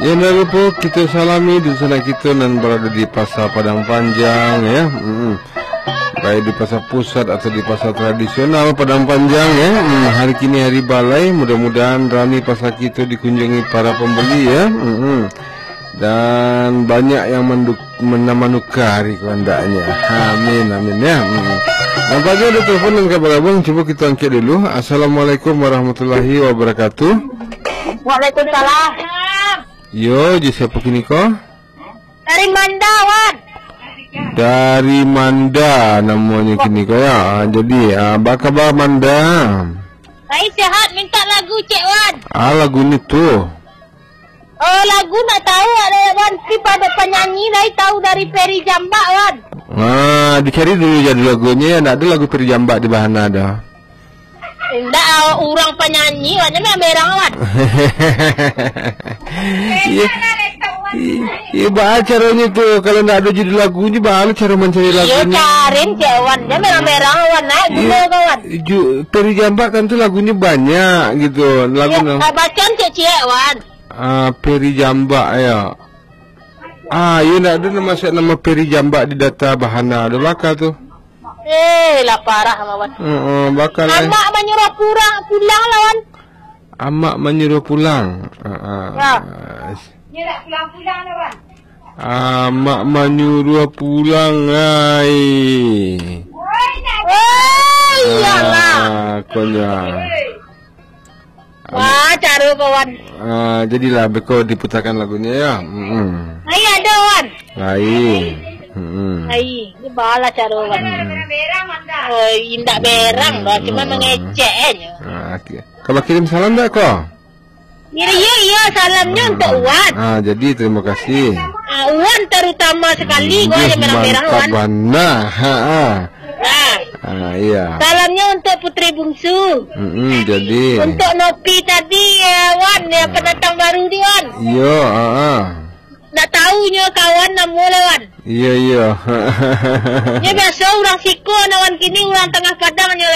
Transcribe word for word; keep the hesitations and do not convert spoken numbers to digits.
Yang dah lupa kita salami di sana kita nan berada di Pasar Padang Panjang, ya. Mm-mm. Baik di Pasar Pusat atau di Pasar Tradisional Padang Panjang, ya. Mm, hari kini hari balai, mudah-mudahan rami pasar kita dikunjungi para pembeli, ya. Mm-mm. Dan banyak yang menduk-, mena-, manukar hari kehendaknya. Amin, amin, ya. Mm-mm. Nampaknya ada telepon yang ka bergabung. Cuba kita angkat dulu. Assalamualaikum warahmatullahi wabarakatuh. Waalaikumsalam. Yo, jo siapa kini ko? Dari Manda, Wan. Dari Manda namanya kini ko, ya. Ah, jadi, ah, apa kabar Manda? Baik, sehat. Minta lagu, Cek Wan. Ah, lagu ni tu. Oh, lagu nak tahu ada, Wan. Tapi pada penyanyi lai tahu dari Ferry Jambak, Wan. Ah, dicari dulu jadi lagunya, ya. Ndak ada lagu Ferry Jambak di Bahana dah. Indak, urang panyanyi, Wan, jan merang, Wan. Iya. Iya, baa caronyo tu, kalau ndak ado judul lagunyo, baa lo caro mancari lagunyo? Iyo, carin cek, Wan, jan merang-merang, Wan, naik gula ka, Wan. Ju-, Peri Jambak kan tu lagunyo banyak gitu, lagu. Iyo, nam- ah, bacaan cek ciek, Wan. Ah, Peri Jambak, ya. Ah, iyo, ndak ado nama, nama Peri Jambak di data Bahana, ado baka tu. Eh, lah parah, Wan. Heeh, bakal, eh. Amak manyuruah pulang, pulang lah, Wan. Amak manyuruah pulang. Heeh. Ya. Nyo dak pulang-pulang lah, Wan. Amak manyuruah pulang, ai. Oh, iyolah. Ah, konyol. Wah, caro ko, Wan. Ah, jadilah beko diputarkan lagunyo, ya. Mm-mm. Ai, ado, Wan. Ai. Mm-mm. Ai, ni baa lah caro, Wan. Mm-mm. Oi, indak berang doh, cuma mengecek aja. Ah, oke. Ka bakirim salam ndak ko? Iyo, iyo, iyo, salamnyo untuak Wan. Ah, jadi terima kasih. Ah, Wan terutama sekali, Wan, yang merah-merah, mantap Wan. Bana. Ha, ha. Nah. Ah, iya. Salamnyo untuak putri bungsu. Mm-mm, jadi. Untuak Nopi tadi, ya, Wan, ya, pendatang baru ni, Wan. Iyo, ah, ah. Ndak tahu nyo kawan namo lah, Wan. Iyo, iyo. Nyo biaso urang siko, nah, Wan, kini urang tangah padang nyo, le.